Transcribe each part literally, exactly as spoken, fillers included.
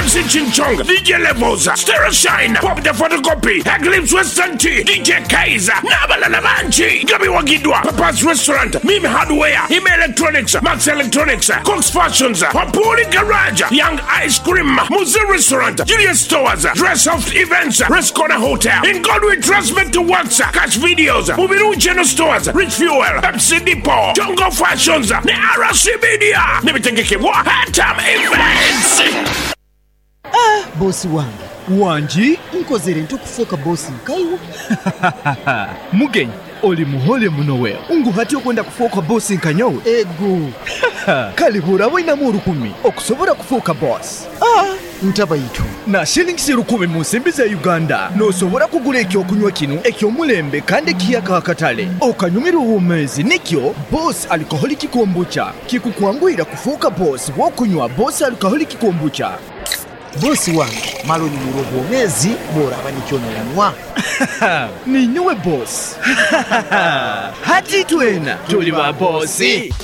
M C Chinchong, D J Levels, Stereo Shine, Pop the Photocopy, Eclipse Western Tea, D J Kaiser n'abalala bangi nga biwagiddwa Papa's Restaurant, Mimi Hardware, Ime Electronics, Max Electronics, Cox Fashions, Papuli Garage, Young Ice Cream, Muze Restaurant, Julius Stores, Dress Soft Events, Rescona Hotel, In God We Trust to Works, Cash Videos, Mubiru General Stores, Rich Fuel, Pepsi Depot, Jungle Fashions ne R C Media nebitegekebwa Hatam Events. Bosi wange. Wangi. Nkozere nti okufuuka bosi nkaiwe? Mugenyi, oli muhole muno wewe. Ngu hati okwenda kufuuka bosi nkanyowe? Ego. Kale buraba oinamu orukumi okusobora kufuuka bosi. Ah, ntabaitu. Na shillings rukumi mu nsimbi za Uganda nosobora kugura ekyokunywa kino ekyomulembe kandi ekiyaka akatale okanyumira obumezi. Nikyo Boss Alcoholic Kombucha kikukwanguhira kufuuka boss wokunywa Boss Alcoholic Kombucha. Bosi wange, mala onyumirwa obwomezi bworaba nikyo noyanywa. Ninyowe boss. Hati twena tuli ba bosi.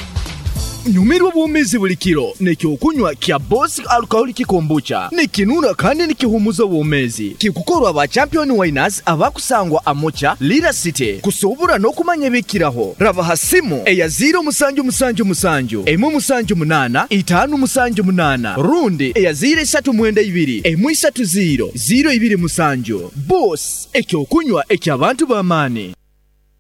Nyumirwa obwomezi buli kiro nekyokunywa kya Boss Alcoholic Kombucha. Nikinura kandi nikihumuza obwomezi. Kikukorwa ba Champion Winers abakusangwa Amocha Lira City. Kusobora n'okumanya ebikiraho, rabaha simu eya ziro musanju musanju musanju emu musanju munana itanu musanju munana rundi eya ziro isatu mwenda ibiri emu isatu ziro ziro ibiri musanju. Boss, ekyokunywa eky'abantu b'amaani.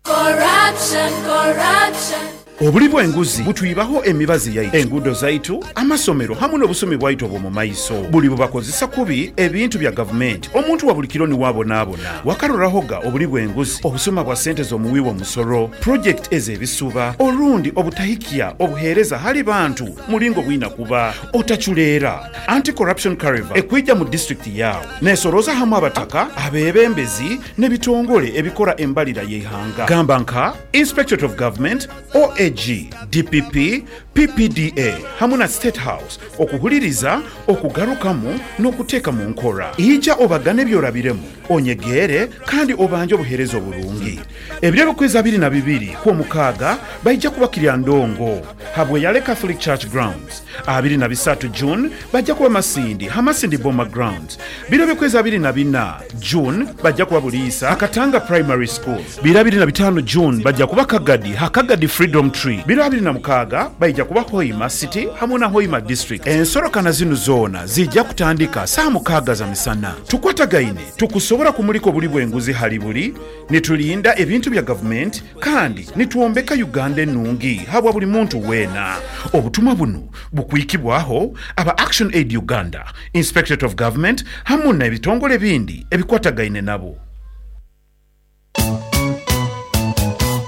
Corruption, corruption. Obuli bw'enguzi butwibaho emibazi yaitu, enguudo zaitu, amasomero hamwe n'obusomi bwaitu obw'omu maiso. Buli bubakozesa kubi ebintu bya gavumenti, omuntu wa buli kiro niwabonaabona. Wakarorahoga obuli bw'enguzi, obusuma bwa sente z'omuwi w'omusoro, projekiti ez'ebisuba, orundi obutahikya obuheereza hali bantu mulingo bwina kuba otaculeera. Anti-Corruption Caravan ekwija mu disitulikiti yawe nesoroza hamwe abataka, abebembezi n'ebitongole ebikora embalira y'eihanga, gamba nka Inspectorate of Government, O A G, D P P, P P D A hamwe na State House, okuhuliriza, okugarukamu n'okuteeka mu nkora. Ija obagane ebyorabiremu, onyegeere kandi obanje obuheereza oburungi. Ebiro ebikwezi abiri na bibiri kw'omukaaga baija kuba Kiryandongo habweyale Catholic Church Grounds. Abiri na bisatu June bajja kuba Masindi Hamasindi Boma Grounds. Biro ebikwezi abiri na bina June bajja kuba Buliisa Akatanga Primary School. Biro abiri na bitano June bajja kuba Kagadi Hakagadi Freedom Tree. Biro abiri na mukaaga baija kuba Hoima City hamwe na Hoima District. Ensorokana zinu zoona zijja kutandika saa mukaaga za misana. Tukwatagaine tukusobora kumulika obuli bw'enguzi hali buli, nitulinda ebintu bya gavumenti kandi nitwombeka Uganda enungi habwa buli muntu weena. Obutumwa buno bukwikibwaho aba Action Aid Uganda, Inspectorate of Government hamwe n'ebitongole bindi ebikwatagaine nabo.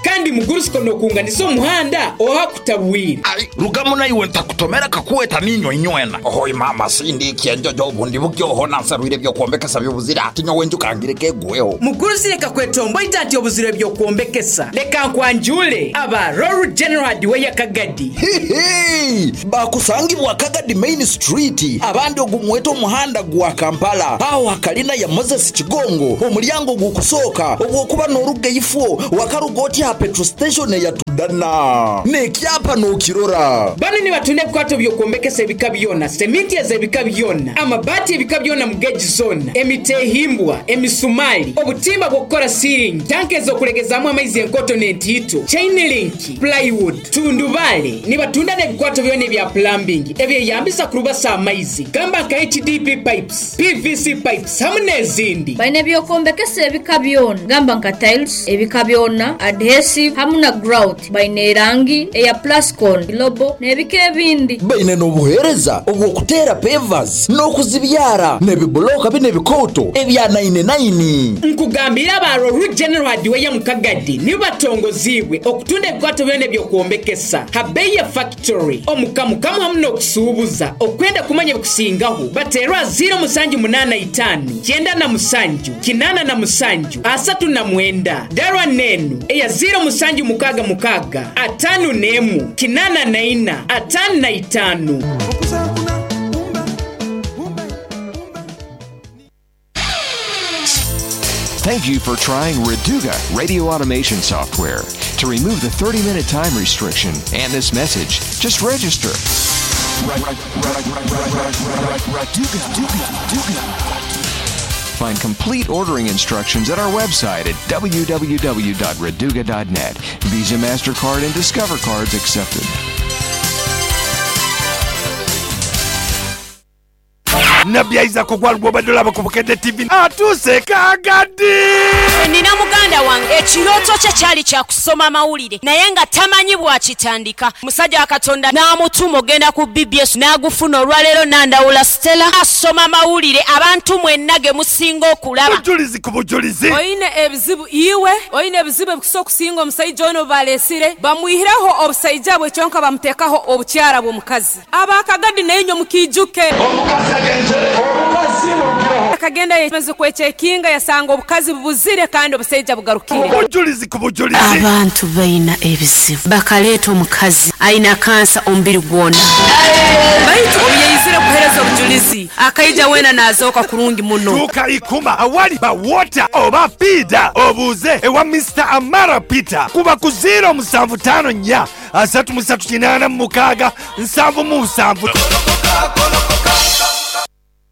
Kandi mugurusiko nokunganiza omuhanda ohakutabwire. Ai, rugamu naiwe ntakutomera kakuweta ninyo inywena. Ohoi mama, sindi kienjojo obundi bukyoho nansarwire byokwombekesa byobuzira ati nyowe njukangire kegweho. Mugurusi, leka kwetomboita nti obuzire byokwombekesa. Leka nkwanjule aba Roru General Hardware Kagadi. Hihi, bakusangibwa Kagadi Main Street, abandi ogumweta omuhanda gwa Kampala, aho hakalina ya Moses Kigongo, omulyango gukusooka obwokuba n'oruga ifo wakaruga oti ha petrol station ya Tudana nekyapa n'okirora. Bano nibatunda ebikwato byokwombekesa ebika byona, seminti ez'ebika byona, amabaati ebika byona mu geji zona, emitehimbwa, emisumali, obutimba bw'okukora ceiling, tanka ez'okulegezamu amaizi enkoto n'entiito, chain link, plywood, tundubale. Nibatunda n'ebikwato byona ebya plumbing ebyeyambisa kurubasa amaizi, gamba nka H D P pipes, P V C pipes hamwe n'ezindi. Balina ebyokombekesa ebika byona, gamba nka tiles ebika byona, adhesive hamwe na grout. Balina erangi eya plascon, lobo n'ebika ebindi. Baine n'obuheereza obw'okuteera pavers n'okuzibyara n'ebibuloka bino ebikooto ebya nine nine. Nkugambira aba Roru General Hardware mu Kagadi nibo batongozibwe okutunda ebikwato byona ebyokwombekyesa ha bei ya factory omukamukamu hamwe n'okusuubuza. Okwenda kumanya ebikusingaho, baterwa ziro musanju munana itano kyenda na musanju kinana na musanju asatu na mwenda, darwa nenu eya ziro musanju mukaga mukaga atano nemu kinana na ina atano na itano. Thank you for trying Raduga radio automation software. To remove the thirty minute time restriction and this message, just register. Find complete ordering instructions at our website at w w w dot raduga dot net. Visa, MasterCard, and Discover cards accepted. Nabbi Isaac ogwalugwa obadde olaba ku Bukedde T V atuuse Kagadi. Nina muganda wange ekirooto kye kyali kya kusoma mawulire naye nga tamanyi bw'akitandika. Musajja wa Katonda n'amutuma ogenda ku B B S n'agufuna olwaleero n'andawula Stella asoma mawulire abantu mwenna ge musinga okulaba. Bujulizi ku bujulizi. Oyina ebizibu iwe, oyina ebizibu ebikusa okusinga omusajja ono baleesire bamwihireho obusajja bwe kyonka bamuteekaho obukyala bw'omukazi. Abakagadi naye nnyo mukiijuke. Akagenda yemaze kwechekinga yasanga obukazi bubuzire kandi obusajja bugarukire. Bujulizi ku bujulizi. Abantu balina ebizibu bakaleeta omukazi alina kansa omubiri gwona. Baitu obuyeyizire kuhereza obujulizi akaija wena nazooka kurungi muno. Tuuka ikuma awali ba water oba feeder obuuze ewa Mister Amara Peter kuba ku zero musanvu tano nnya asatu musatu kinaana mukaaga nsanvu mu nsanvu.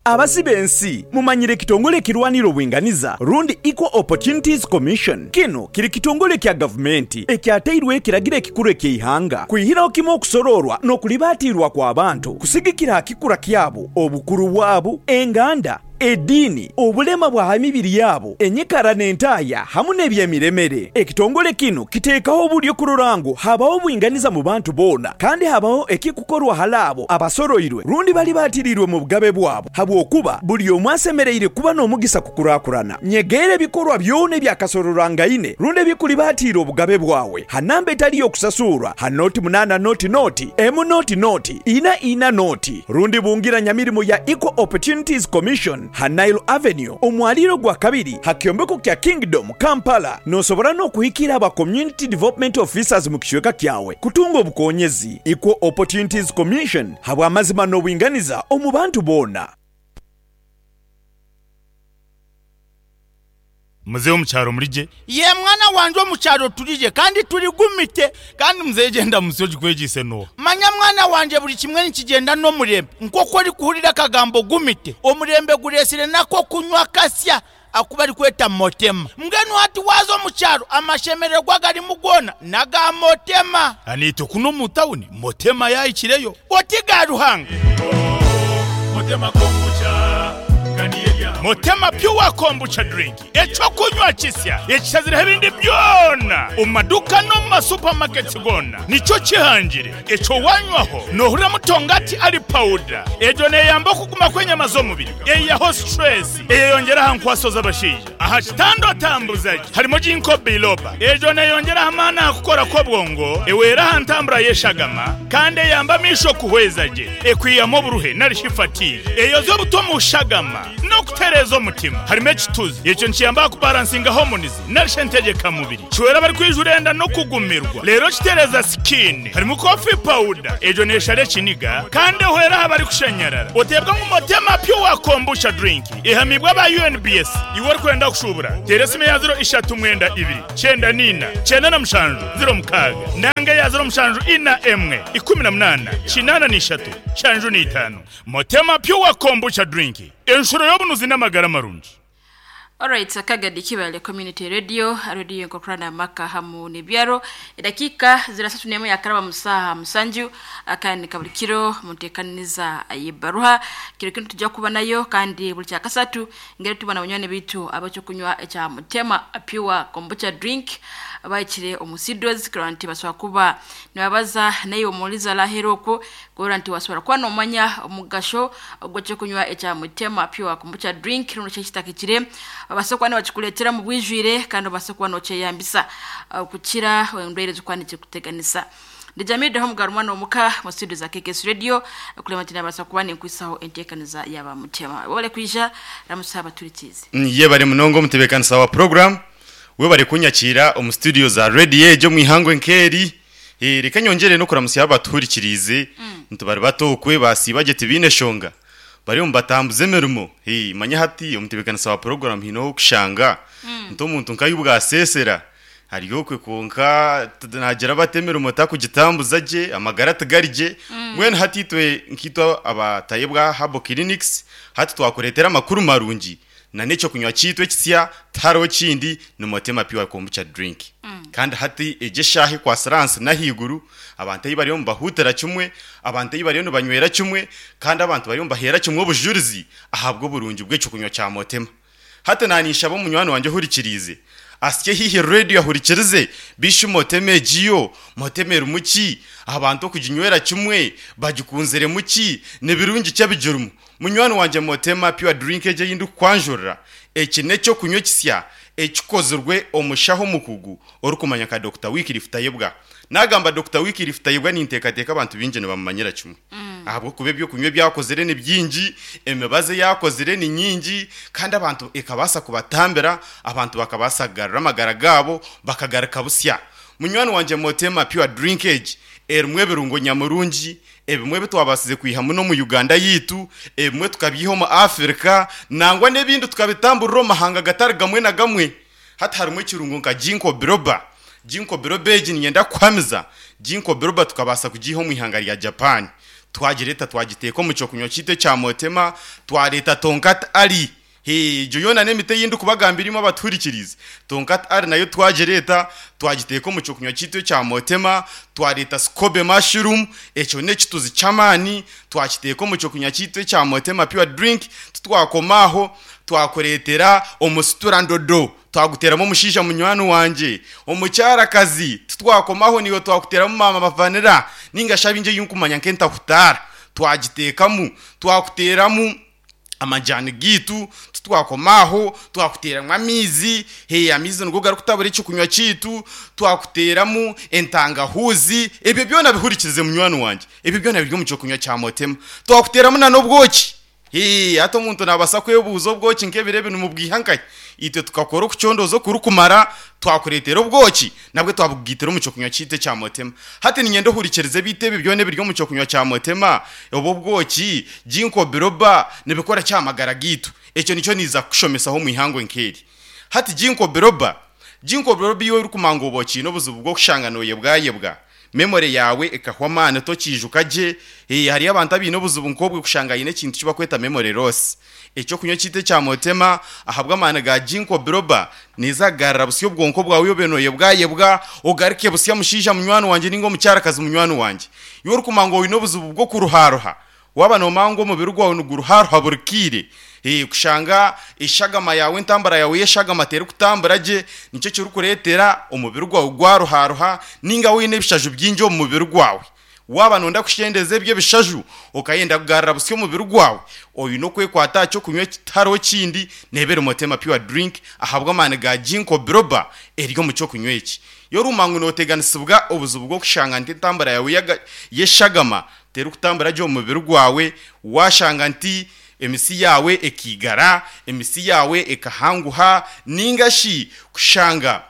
Abasibe ensi mumanyire kitongole ekirwanira obwinganiza rundi Equal Opportunities Commission. Kino kiri kitongole kya gavumenti ekyateirwe ekiragira ekikuru eky'eihanga kwihiraho kimwe okusororwa n'okulibatiirwa kw'abantu kusigikira hakikura kyabo obukuru bwabo enganda eddiini obulema bwa mibiri yabo enyikara n'entaaya hamu n'ebyemiremere. Ekitongole kino kiteekaho obulyo kururangu habaho obwinganiza mu bantu boona kandi habaho ekikukorwa halaabo abasoroirwe rundi bali batirirwe mu bugabe bwabo habwokuba buli omwe asemereire kuba n'omugisa kukurakurana. Nyegeere ebikorwa byona ebyakasororwangaine rundi ebikuli batiire obugabe bwawe hanamba etali y'okusasurwa ha noti munaana noti noti emu noti noti ina ina noti rundi bungira nyamirimu ya Equal Opportunities Commission ha Nile Avenue omwaliro gwa kabiri ha kyombeko kya Kingdom Kampala. Nosobora n'okuhikira aba Community Development Officers mu kicweka kyawe kutunga obukonyezi. Equal Opportunities Commission habwa amazima n'obwinganiza omu bantu boona. Mzee omukyaro mulije ye mwana wanje omukyaro tulije kandi tuligumite kandi mzee genda musoji kwegise no manya mwana wanje buli kimwe nikigenda n'omurembe nk'oku ori kuhurira akagambo gumite omurembe guresire nako kunywa kasya akuba ari kweta motema mbwenu hati waza omukyaro amashemererwa garimu gona naga motema anito kuno mu tawuni motema yayikireyo otiga Ruhanga motema kombucha Motema Pure Kombucha drink ekyokunywa kisya ekisazira ebindi byona omu maduka no mu masupermarkets gona nikyo kihangire ekyo wanywaho nohurira mutongati ali powder ejo neyamba okuguma kw'enyama z'omubiri eyaho stress eyeyongeraho nkwaso z'abashaija aha kitando tambuzaji harimo ginkgo biloba ejo neyongeraho amaani aha kukora kw'obwongo eweraho ntambura y'eshagama kandi eyamba amisho kuhwezaje ekwiyamu oburuhe nari fatigue eyoza obuto mu shagama n'okutereeza omutima harimo ekituzi ekyo nkiyamba kubalansinga hormones narishe ntegeka mubiri kiwera bari kwijura enda no kugumirwa rero kitereza skin harimo coffee powder ejo neshare kiniga kandi ehwera abari kushanyarara otebwa mu Motema Pure Kombucha drink ihamibwa ba U N B S iwe ori kwenda kushubura teresimu ya zero ishatu mwenda ibiri cyenda nina cyenda na mushanju zero mukaga nanga ya zero mushanju ina emwe ikumi na munana kinana n'ishatu shanju n'itanu. Motema Pure Kombucha drink enshuro y'obunuzi n'amagara marungi. Alright, Kagadi Kibale Community Radio, radio nkokrana maka hamu nebyaro. Dakika zirasatu nemo ya karaba musaha musanju akandi kabulikiro muntekaniza ayibaruha kiro kintu tujya kuba nayo kandi buli kyakasatu ngere tubana bunywane bitu abacho kunywa ekya Motema Pure Kombucha drink abayikire omusidos granti baswa kuba nibabaza nayo omuliza laheroko granti waswara kwa nomanya omugasho ogwo kunywa ekya Motema Pure Kombucha drink runo cyekitakikire abasokwa ne bakikuletera mu bwijwire kandi abasokwa no cyeyambisa uh, kukira wendwere zikwanike kuteganisa. Ndijamide ho mugarumwa no muka mu studio za K K S Radio kulema tina basokwa ne nkwisaho entekaniza yaba Mutema bole kwija ramusaba turikize ye bari munongo mutebekanisa wa program we bari kunyakira omu studio za radio ejo mwihangwe nkeri eh reka nyongere no kuramusiya abaturikirize mm. ntubari batokwe basibaje tibine shonga bari mbatambuze merumo eh manya hati omutebekanisa wa program hino kushanga mm. nto muntu nkayubwa sesera Hariyo konka nagira batemera mutakugitambuza je amagara tigarije mwene hatitwe nkitwa abatayebwa Herbal Clinics hati twakuretera amakuru marungi na neco kunywa cyitwe kisya taro kindi ni Motema Pure Kombucha drink mm. Kandi hati eje shahi kwa saranse nahiguru abantu bariyo mbahutera kimwe abantu bariyo banywera kimwe kandi abantu bariyo mbahera kimwe obujurizi ahabwo burungi bw'eco kunywa cya Motema hati nanisha bo munywano wanje hurikirize asye hihi radio ahurikirize bishu Moteme jiyo Moteme rumuki abantu kuginywera kimwe bagikunzere muki nebirungi cyabijurumu munywano wanje Motema Pure Drink eje yindu kwanjurira eki necyo kunywa kisya ekikozurwe omushaho mukugu orukumanya ka Doctor Wycliffe Tayebwa nagamba Doctor Wycliffe Tayebwa nintekateka abantu binje ne bamumanyira kimwe mm. Ahabwo kube byo kunywe byakozere ni byinji emibaze yakozere ni nyinji kandi abantu ekabasa kubatambera abantu bakabasagarira amagara gabo bakagarika busya munywano wanje Motema Pure Drinkage erumwe birungo nyamurungi ebimwe bitwabasize kwiha muno mu Uganda yitu ebimwe tukabyiho mu Afrika nangwa nebindi tukabitamburira mahanga gatari gamwe na gamwe hatarimwe kirungo nka Ginkgo biloba Ginkgo biloba eji nyenda kwamiza Ginkgo biloba tukabasa kugiho mu ihanga rya Japan twagireta twagiteko mu cyo kunywa cyite cya Motema twareta Tonkat Ali he joyona nemite yindi kubagambirimo abaturikirize Tonkat Ali nayo twagireta twagiteko mu cyo kunywa cyite cya Motema twareta Scobe mushroom eco ne kituzi chamani twakiteko mu cyo kunywa cyite cya Motema Pure Drink tutwakomaho twakoretera omusitura ndodo twaguteramo mushisha munywano wanje omucyarakazi tutwakomaho niyo twakuteramo mama bavanira ninga shabinje yunkumanya nkenta kutara twagitekamu twakuteramu amajani gitu tutwakomaho twakuteramwa amizi he amizi ngo garukutabura icyo kunywa cyitu twakuteramu entangahuzi ebyo byona bihurikirize munywano wanje ebyo byona biri mu cyo kunywa cya Motema twakuteramu na nobwoki he ato muntu nabasa kwebuzo bwoki nkebire bintu mubwihankaye itwe tukakora okucondozo kurukumara twakuretera obwoki nabwe twabugitera mu cyo kunywa cyite cya Motema hati ninyendo hurikirize bitebe byone biryo mu cyo kunywa cya Motema obo bwoki Ginkgo biloba nibikora cyamagara gitu ecyo nicyo niza kushomesaho mu ihango nkeri hati Ginkgo biloba Ginkgo biloba iyo uri kumanga oboki no buzubu bwo kushanganoye bwayebwa memory yawe ekahwa mane to kijuka je eh hari abantu abino buzubu nkobwe kushangayine kintu kiba kweta memory loss ecyo kunywa cyite cya Motema ahabwa amana ga Ginkgo biloba nizagarra busyo bwonko bwawe yobenoye bwayebwa ugarike busya mushisha munywano wanje ningo mucyarakazi munywano wanje yo rukumango wino buzubu bwo kuruharuha waba no mango mubiri gwawe nuguruharuha burkire eh kushanga ishagama yawe intambara yawe yeshagama tera kutambara je nicyo cyo rukuretera umubiri gwawe gwaruharuha ninga wine bishaju byinjo mu mubiri gwawe waba nonda kushendeze bye bishaju ukayenda kugarra busyo mubiri gwawe oyu no kwekwata cyo kunywa kitaro kindi nebere Motema Pure Drink ahabwa amana ga Ginkgo biloba eryo mu cyo kunywa iki yo rumango noteganisibwa obuzubu bwo kushanga nti intambara yawe yeshagama tera kutambara je mubiri gwawe washanga nti emisi yawe ekigara emisi yawe ekahanguha ningashi kushanga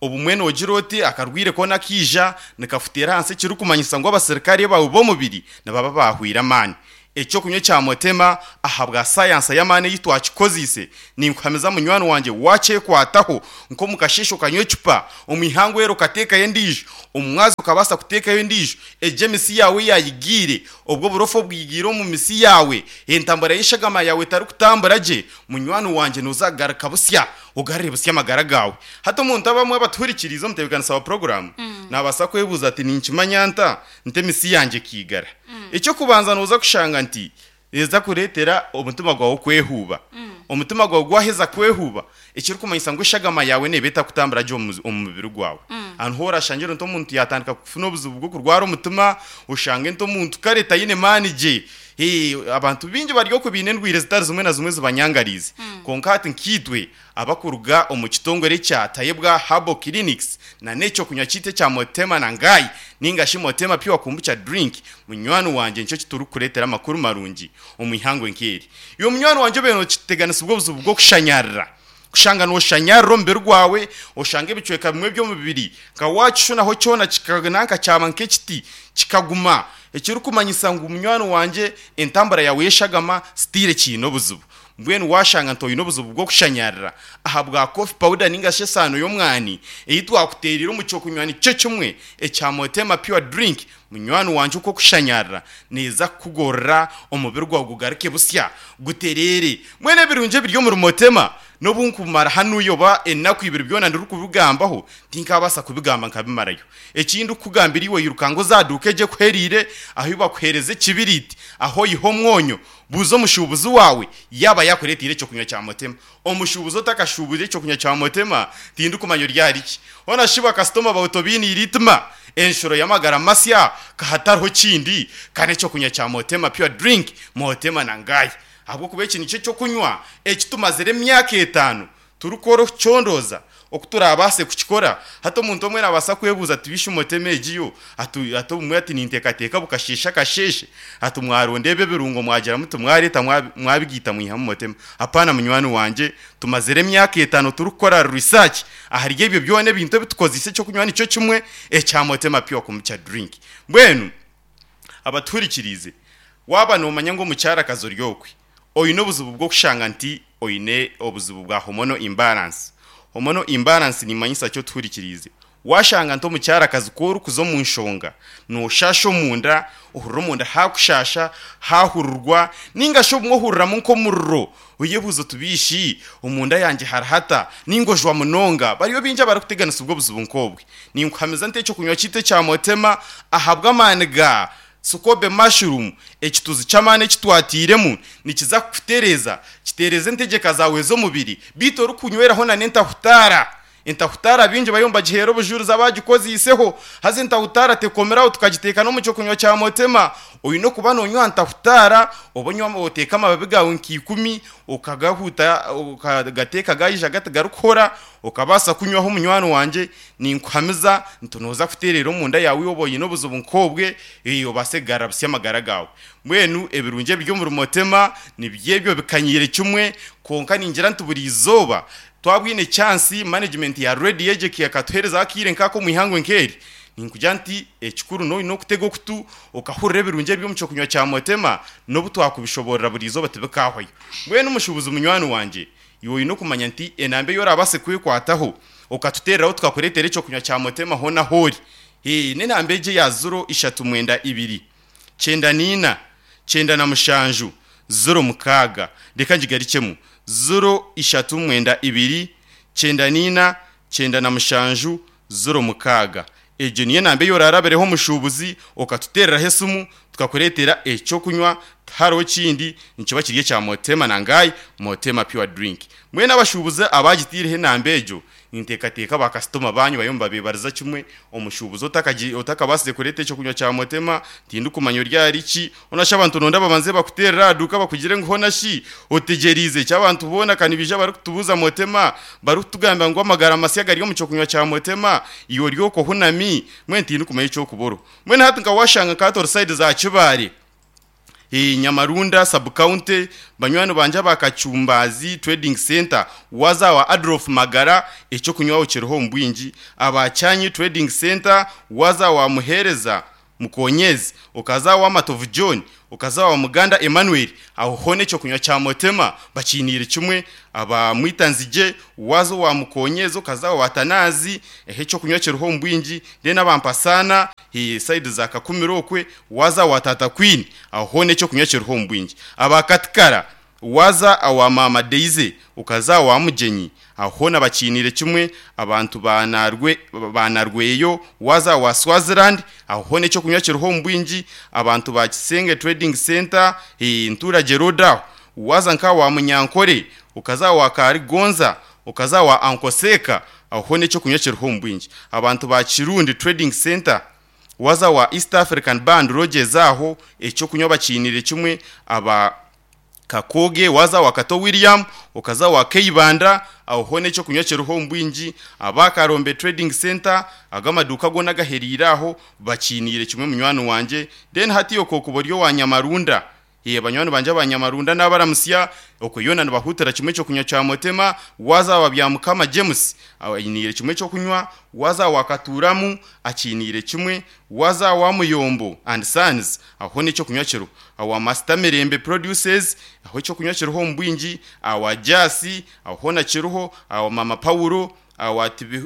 obumwe nogiroti akarwire kona kija nikafutera hanse kirukumanyisa ngo abasirikare bawe bo mubiri nababa bahwira mani ecyo kunywa cya Motema ahabwa science y'amane yitwakikozise ninkwameza munywano wanje wache kwataho nko mukashisho kanywe chupa omihango ero kateka yendijo umwazo kabasa kuteka yendijo ejemisi yawe yayigire obwo burofo bwigiro mu misi yawe entambara yishagama yawe tari kutambara je munywano wanje nuzagaruka busya ugarire busya amagara gawe hato umuntu abamwe abaturikirizo mutebekanisa wa program mm. nabasa kwebuza ati ninkimanyanta nte misi yanje kigara mm. icyo kubanza nuza kushanga nti eza kuretera omutima gwawe kwehuba mm. omutima gwawe gwaheza kwehuba ekiri kumanyisa ngo ishagama yawe nebeta kutambara jo omubiri gwawe mm. anhora shangira nto muntu yatandika kufuna obuzubu bwo kurwara omutima ushange nto muntu kareta yine mani je eh abantu bingi baryo kubine ndwire zitari zimwe na zimwe zibanyangarize mm. konka ati nkitwe abakuruga omukitongore cya Tayebwa Herbal Clinics na neco kunywa cyite cya Motema na ngai ninga shi Motema Pure Kombucha drink munywano wanje nicyo kituru kuretera amakuru marungi omuihango nkeri iyo munywano wanje beno kiteganisa ubwo buzubu bwo kushanyarira kushanga no shanyariro mbere rwawe oshange ibicweka bimwe byo mubiri ka wacu naho cyona kikaganaka cyaba nk'ekiti kikaguma ekiri kumanyisa ngo umunywano wanje entambara yawe yeshagama stile kino buzubu Mbwenu washanga nti oyine obuzibu bw'okushanyarira aha bwa coffee powder ninga shi esaano y'omwani ei twakuteerire omu kyokunywa nikyo kimwe ekya Motema Pure Drink, munywani wanje uko kushanyarira neza kukugorora omubiri gwawe gugaruke busya guterere. Mwene ebirungi ebiri omuri Motema n'obu nkumara hanu yoba enaku ibiri byona ndiri kubigambaho tinkabasa kubigamba nkabimarayo. Ekindi kugambira iwe yirukango zaduke je kuherire aho bakuhereze ekibiriti aho yiho omwonyo buzo omushubuzi wawe yaba yakuretire ekyo kunywa kya Motema. Omushubuzi otakashubuze ekyo kunywa kya Motema tindi kumanya ryariki ona shiba customer bawutobini iritima enshuro yamagara masya kahatariho kindi kane ekyo kunywa kya Motema Pure Drink Motema nangayi ahubwo kuba eki nikyo kyokunywa ekitumazire emyaka etaano turikora okucondoza okuturabase kukikora. Hati omuntu omwe nabasa kwebuuza ati bishe Motema egiyo ati ati obumwe ati ninteekateeka bukasheesha akasheeshe ati mwaronda ebyo ebirungo mwagira muti mwareeta mwabigiita mwihamu Motema. Apaana munywani wanje, tumazire emyaka etaano turikukora research ahari ebyo byona ebintu ebitukozise ekyokunywa nikyo kimwe ekya Motema Pure Kombucha Drink. Mbwenu abatuhurikirize waba nomanya ngu omukyarakazi ori okwe oyine obuzibu bw'okushanga nti oyine obuzibu bwa hormonal imbalance. Hormonal imbalance nimanyisa kyo tuhurikirize washanga nti omukyarakazi ku orikuza omu nshonga noshasha omunda ohurira omunda hakushasha hahururwa ninga shi obumwe ohuriramu nk'omuriro oyebuuza otubiishi omunda yangye harahata ningojwa munonga. Bariyo bingi abarikuteganisa ubwo buzibu nk'obwe. Ninkuhamiza nti ekyokunywa kiitu ekya Motema ahabw'amaani ga Sukobe mushroom ekituzi ky'amaani ekitwatiremu nikiza kukutereza kitereze entegeka zawe z'omubiri biito orikunyweraho na n'entahutara. Entahutara bingi bayo mbagihera obujurizi abagikoziiseho haza entahutara tekomeraho tukagiteeka n'omu kyokunywa kya Motema. Oyine okuba nonywa ntahutara oba onywa oteeka amababi gawe nk'ikumi okagahuta okagateeka gaija gatigarikuhora okabaasa kunywaho munywani wanje. Ninkuhamiza nti nooza kuteerera omunda yawe oba oyine obuzibu nk'obwe obaase kugarura busya amagara gawe. Mbwenu ebirungi ebiri omuri Motema nibyebyo bikanyiire kimwe konka ningira nti buri izooba twabwine chance management ya Radio Ejeki yakatuhereza akire nkako mwihangwe nkeri. Ninkugira nti ekikuru no nokutega okutu okahurira ebirungi ebyo mu kyokunywa kya Motema n'obu twakubishoborera buri izooba tibikahwayo. Mbwenu omushubuzi munywani wanje iwe oyine okumanya nti enambe yorabase kwekwataho okatutereraho tukakureetera ekyokunywa kya Motema hona hori. Eh n'enamba egi ya ziro ishatu mwenda ibiri kyenda niina kyenda na mushanju ziro mukaaga. Reka ngigarikemu ziro ishatu mwenda ibiri kyenda niina kyenda na mushanju ziro mukaaga. Egyo niyo namba yorarabireho omushubuzi okatutereraho esimu tukakureetera ekyokunywa tihariho kindi nikiba kiri ekya Motema nangayi Motema Pure Drink. Mbwenu abashubuzi abagitiireho enamba egyo ninteekateeka bakasitoma banyu bayo mubabebariza kimwe omushubuzi otakabasize kureeta ekyokunywa kya Motema tindikumanya ryariki onasha abantu nonda babanze bakuterera aduka bakugire ngu hona shi otegerize ekyabantu boona kanibija barikutubuuza Motema barikutugamba ngu amagara masya gari omu kyokunywa kya Motema iwe ori okwo hunami mbwenu tindikumanya ekyokuboro. Mbwenu hati nkawashanga nkatora side za Kibaare e Nyamarunda sub county banywani banje abakachumbazi trading center waza wa Adolf Magara ekyo kunywaho kiriho mbwingi abachanyi trading center waza wa Muhereza Mukonyezi okaza wa Matovu John okaza wa Muganda Emmanuel aho hone ekyo kunywa kya Motema bakinire kimwe aba Mwitanzije wazo wa Mukonyezi okaza wa Tanazi ehe cyo kunywa kiriho mbwingi then abampasana he side za Kakumirokwe waza wa Tata Queen aho hone cyo kunywa kiriho mbwingi abakatikara waza awa Mama Deize ukaza wa Mugenyi aho nabakinire kimwe abantu banarwe banarweyo waza wa Swaziland aho ne cyo kunywa kiriho mbwingi abantu ba Kisenge Trading Center he ntura Geroda waza nka wa Munyankore ukaza wa Karigonza ukaza wa Ankoseka aho ne cyo kunywa kiriho mbwingi abantu ba Kirundi Trading Center waza wa East African Band Rogers aho ecyo kunywa bakinire kimwe aba Kakoge waza wa Kato William ukaza wa Keibanda aho ne cyo kunywa kiriho mbwingi abakarombe Trading Center agamaduka go nagaheriraho bakinire kimwe munywano wanje then hati yo kokuboryo wa Nyamarunda Ye banywani banje abanyamarunda n'abaramusya okuyona nibahutira kimwe cyo kunywa cya Motema. Waza wa bya Mukama James ayinire kimwe cyo kunywa, waza wakaturamu akinire kimwe, waza wa Muyombo and Sons aho nicyo kunywa kiro, awa Master Mirembe Produces aho cyo kunywa kiruho mbwingi, awa Jasi aho na kiruho, awa Mama Paulo awa tibi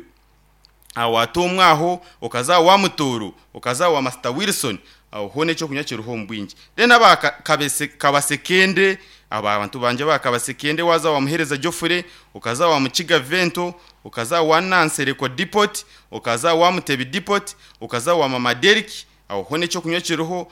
awatomwaho, okaza wa Mutoro, okaza wa Master Wilson aho necyo kunywa kiruho mbwingi. Then aba kabese kabasekende aba abantu banje bakabasekende, waza wamuhereza Joffre, okaza wa Mukiga Vento, okaza wa Nansereko Depot, okaza wa Mutebi Depot, okaza wa Mama Derek aho necyo kunywa kiruho.